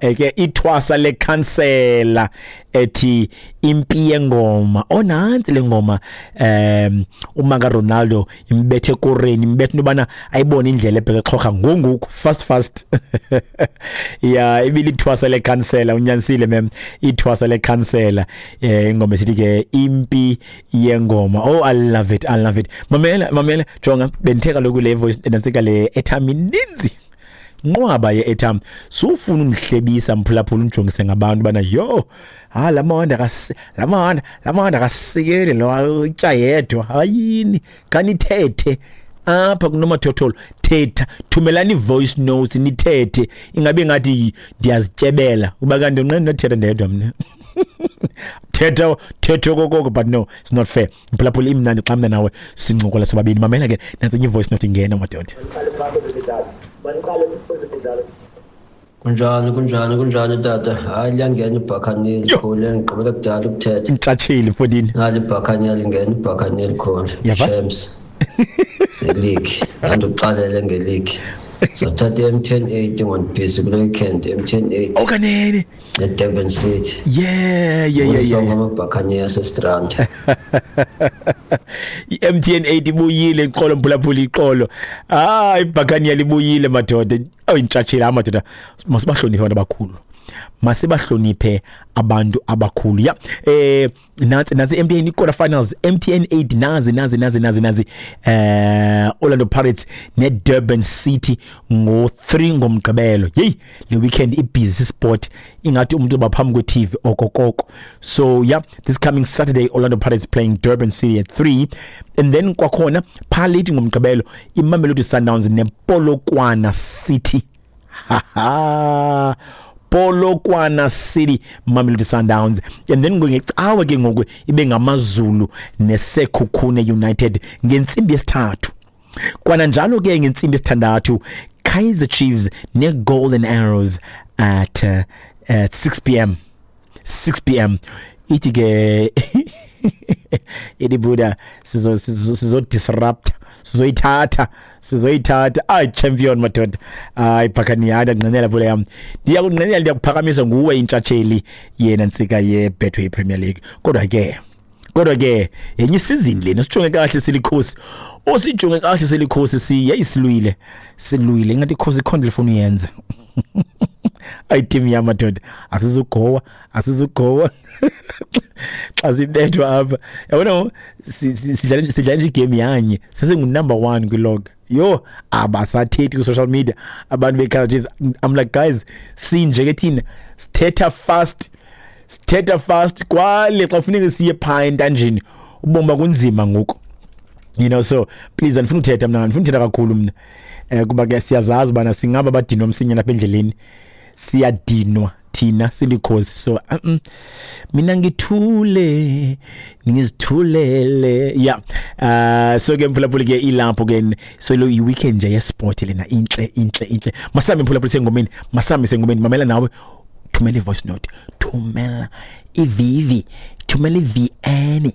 Eke ithwasa lekhansela ethi impi yengoma. Onantsi le ngoma, uma kaRonaldo imbethe koreni, imbethe into yobana ayibone indlela ebheke xhorha ngongoku fast fast. Ya, ibilithwasa lekhansela. Unyanisile mem, ithwasa lekhansela, ingoma esithi ke impi yengoma. Oh, I love it, I love it. Mamela, mamela, jonga, bendithe kaloku le voice nantsika le airtime ininzi, nqwaba ye-airtime. Sufuna undihlebisa, mphulaphula, undijongise ngabantu bana yho, ha, la mawanda la mawanda akasikeli, lo utya yedwa. Hayini, kanithethe apha kunomathotholo, thetha, thumelani i-voice notes nithethe, ingabe ngathi ndiyazityebela uba kanti unqeni nothetha ndedwa mna. Thetha, thetha okokoko, but no, it's not fair, mphulaphula. Imnandi xa mna nawe sincokola sobabini. Mamela ke, nantsi enye i-voice note ingena, madoda. Kunjani, kunjani, kunjani tata? Hayi, liyangena ibhakhani elikhulu, endigqibele kudala ukuthetha. Intshatsheli, mfondini. Nali ibhakhani, yalingena ibhakhani elikhulu. Yava? Champs zeligi, ndanduxalele ngeligi. Sothatha i-MTN 8 ngondibhizi kule weekend, MTN 8 Okanene. neDurban City. Yeah. Sonke amabhakhani aseStrand. I-MTN 8 ibuyile, iqolo, mphulaphula, iqolo. Ah, ibhakani yalibuyile, madoda. Oh, intshatsheli madoda. Masibahloniphe abantu abakhulu. Masibahloniphe abantu abakhulu. Ya, nansi, nansi MTN quarter finals, MTN 8, nazi, nazi, nazi, nazi, nazi. Orlando Pirates ne Durban City ngo 3 ngoMgqibelo. Hey, le weekend ibusy sport, ingathi umuntu baphambi kwe TV okokoko. So yeah, this coming Saturday, Orlando Pirates playing Durban City at 3, and then kwakhona pha late ngoMgqibelo, iMamelodi Sundowns nePolokwane City. Ha ha. Polokwane City, Mamelodi Sundowns. And then ngecawe ke ngoku ibe ngamaZulu neSekhukhune United ngentsimbi yesithathu. Kwananjalo ke ngentsimbi yesithandathu, Kaizer Chiefs neGolden Arrows at 6 p.m., 6 p.m. Ithi ke idibuda sizo disrupt, sizoyithatha, sizoyithatha. Ay, champion, madoda. Ay, phakani, ndinqinela bula yam, ndiyakunqinela, ndiyakuphakamisa, nguwe intshatsheli yena ntsika ye-Betway Premier League. Kodwa ke yenye isizini lena, sijonge kahle silikhosi, osijonge kahle silikhosi, siyayisilwile, silwile, ingathi ikhosi ikhona lifuna uyenza. Ayi, team yam, madoda, asizugowa, asizugowa xa sibethwa apha, yabona. Sidlala nje igame yanye, sesingu-number 1 kwilog. Yo, abasathethi ku-social media abantu be-Kaizer Chiefs. I'm like, guys, sinje ke thina, sithetha fast, sithetha fast kwale xa kufuneka siye phaa entanjeni, ubomi kunzima ngoku. So please, andifuna uthetha mna, andifuna uthetha kakhulu mna, kuba ke siyazazi ubana singaba badinwa msinya lapha endleleni, siyadinwa thina silikhosi. So mina ngithule, ngizithulele. Yeah, so ke mphulaphuli ke ilapho ke. So lo i-weekend nje yesport lena, inhle, inhle, inhle. Masambe, mphulaphuli, sengomeni, masambe sengomeni. Mamela nawe, thumela i-voice note, thumela iVV, thumela iVN.